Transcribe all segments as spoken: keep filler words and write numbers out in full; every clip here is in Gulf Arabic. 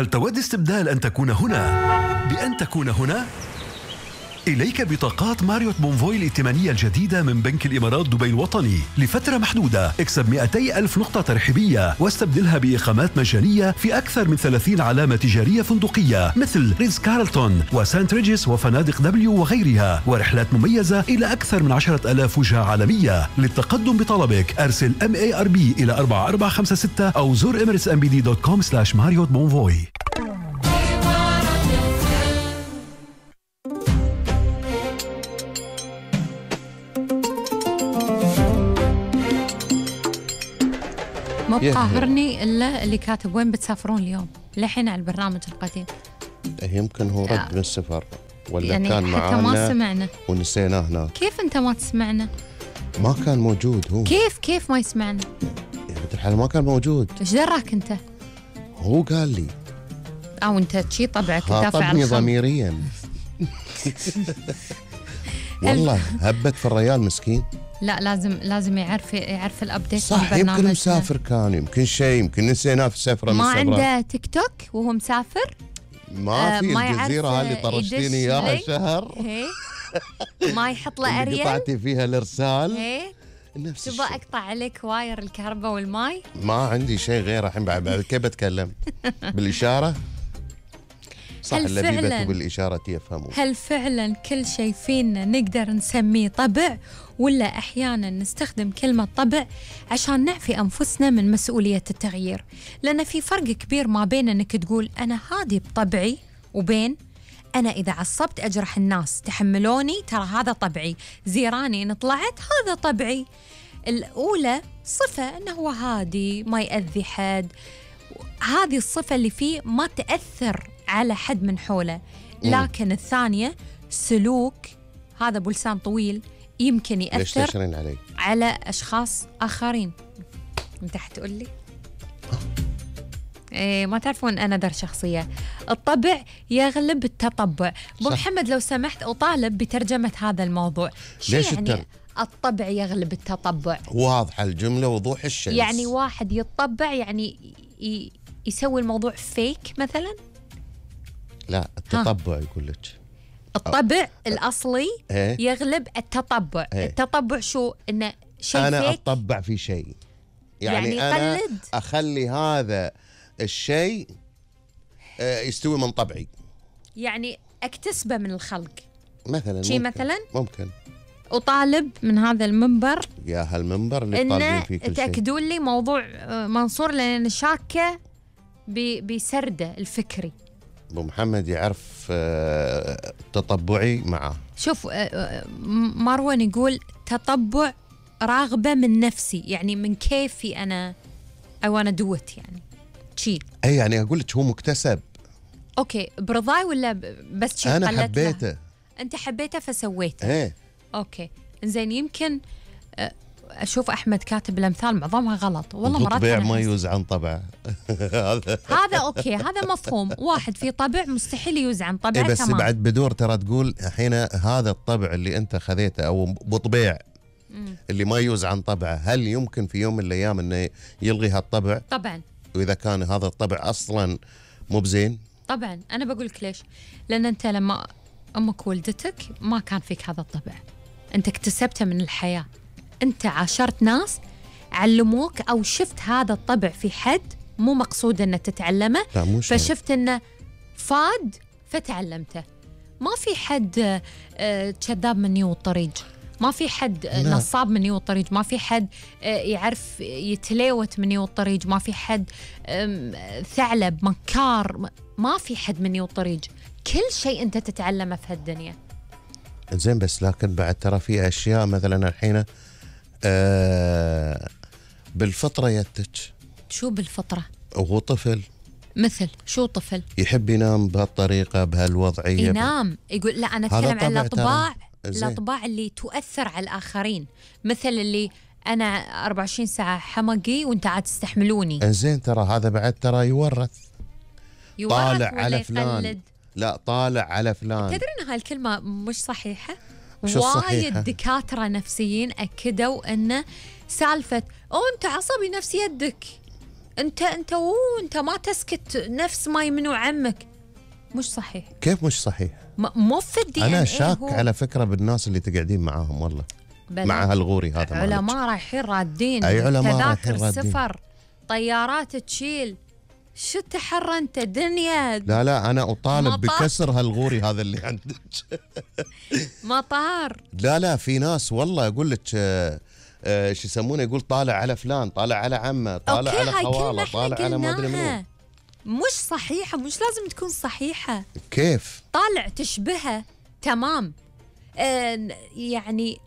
هل تود استبدال أن تكون هنا بأن تكون هنا؟ إليك بطاقات ماريوت بونفوي الائتمانية الجديدة من بنك الإمارات دبي الوطني لفترة محدودة. اكسب مئتي ألف نقطة ترحيبية واستبدلها بإقامات مجانية في أكثر من ثلاثين علامة تجارية فندقية مثل ريتز كارلتون وسانت ريجيس وفنادق دبليو وغيرها، ورحلات مميزة إلى أكثر من عشرة ألاف وجهة عالمية. للتقدم بطلبك أرسل إم إيه آر بي إلى أربعة أربعة خمسة ستة أو زور إميريتس إم بي دي دوت كوم سلاش ماريوت بونفوي. مو بقاهرني إلا اللي كاتب وين بتسافرون اليوم لحين على البرنامج القديم. يمكن هو رد من السفر ولا يعني كان معانا ما سمعنا ونسيناه هناك. كيف أنت ما تسمعنا؟ ما كان موجود هو. كيف كيف ما يسمعنا؟ يعني الحال ما كان موجود. إيش دراك أنت؟ هو قال لي. أو أنت شي طبعك خاطبني ضميريا. والله هبت في الريال مسكين. لا لازم لازم يعرف يعرف الابديت. صح يمكن مسافر كان يمكن شيء يمكن نسيناه في سفره. ما عنده تيك توك وهو مسافر. ما في آه الجزيره هذه طرشتيني اياها شهر. ما يحط له اريال قطعتي فيها الارسال. تبغى اقطع عليك واير الكهرباء والماي؟ ما عندي شيء غير الحين. بعد كيف بتكلم بالاشاره؟ صح اللبيبة بالإشارة يفهمون. هل فعلا كل شيء فينا نقدر نسميه طبع، ولا أحيانا نستخدم كلمة طبع عشان نعفي أنفسنا من مسؤولية التغيير؟ لأن في فرق كبير ما بين أنك تقول أنا هادي بطبعي وبين أنا إذا عصبت أجرح الناس تحملوني ترى هذا طبعي، زيراني إن طلعت هذا طبعي. الأولى صفة أنه هو هادي ما يأذي حد، هذه الصفة اللي فيه ما تأثر على حد من حوله. لكن الثانية سلوك هذا بلسان طويل يمكن يأثر علي. على أشخاص آخرين. أنت حتقول لي إيه ما تعرفون أنا در شخصية. الطبع يغلب التطبع. أبو محمد لو سمحت أطالب بترجمة هذا الموضوع. شو يعني التر... الطبع يغلب التطبع؟ واضحة الجملة وضوح الشمس. يعني واحد يتطبع يعني ي... يسوي الموضوع فيك مثلا. لا التطبع يقول لك الطبع أه. الأصلي أه. يغلب التطبع. أه. التطبع شو؟ إنه شيء أنا فيك. أتطبع في شيء يعني, يعني أنا قلد. أخلي هذا الشيء يستوي من طبعي، يعني أكتسبه من الخلق مثلا. شيء مثلا ممكن أطالب من هذا المنبر يا هالمنبر اللي طالبين فيه كل شيء تأكدون لي موضوع منصور لأن شاكة بسرده الفكري. أبو محمد يعرف تطبعي معه. شوف مروان يقول تطبع راغبة من نفسي، يعني من كيفي أنا I wanna do it يعني شي. أي يعني أقول لك هو مكتسب. أوكي برضاي ولا بس شي أنا حبيته له. أنت حبيته فسويته. إيه أوكي زين. يمكن أشوف أحمد كاتب الأمثال معظمها غلط والله. مرات طبيع ما يوز عن طبعه. هذا أوكي هذا مفهوم. واحد في طبع مستحيل يوز عن طبعه. إيه بس تمام. بعد بدور ترى تقول الحين هذا الطبع اللي أنت خذيته أو بطبيع اللي ما يوز عن طبعه، هل يمكن في يوم من الأيام إنه يلغي هالطبع؟ طبعا. وإذا كان هذا الطبع أصلا مو بزين. طبعا أنا بقول لك ليش. لأن أنت لما أمك ولدتك ما كان فيك هذا الطبع، أنت اكتسبته من الحياة. أنت عاشرت ناس علموك أو شفت هذا الطبع في حد مو مقصود أنه تتعلمه، فشفت أنه فاد فتعلمته. ما في حد كذاب من يو الطريق، ما في حد لا. نصاب من يو الطريق، ما في حد يعرف يتليوت من يو الطريق، ما في حد ثعلب مكار، ما في حد من يو الطريق. كل شيء أنت تتعلمه في هالدنيا. زين بس لكن بعد ترى في أشياء مثلا الحين آه بالفطرة يتج. شو بالفطرة؟ وهو طفل. مثل شو طفل؟ يحب ينام بهالطريقة بهالوضعية. ينام يقول لا أنا أتكلم عن الأطباع، الأطباع اللي تؤثر على الآخرين، مثل اللي أنا أربعة وعشرين ساعة حمقي وأنت عاد تستحملوني. زين ترى هذا بعد ترى يورث. يورث طالع على فلان يقلد. لا طالع على فلان. تدري أن هالكلمة مش صحيحة؟ وايد دكاترة نفسيين أكدوا أن سالفة أو أنت عصبي نفس يدك انت انت وو انت ما تسكت نفس ما يمنو عمك. مش صحيح. كيف مش صحيح؟ مو في الدي انا شاك على فكره بالناس اللي تقعدين معاهم والله، مع هالغوري هذا. علماء رايحين رادين، اي علماء تذاكر رايحين رادين، سفر، طيارات تشيل. شو تحر انت دنيا؟ لا لا انا اطالب مطار. بكسر هالغوري هذا اللي عندك. مطار. لا لا في ناس والله اقول لك آه آه شو يسمونه، يقول طالع على فلان، طالع على عمه، طالع أوكي، على هاي خواله، كلمة طالع إحنا على ما ادري منو. قلناها. مش صحيحة، مش لازم تكون صحيحة. كيف؟ طالع تشبهها تمام. آه يعني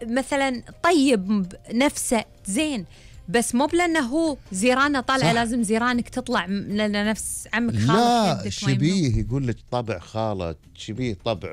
مثلا طيب نفسه زين، بس مو بلانه هو زيرانه طالعه لازم زيرانك تطلع لنفس عمك خالك لا يدك. شبيه، يقول لك طبع خاله، شبيه طبع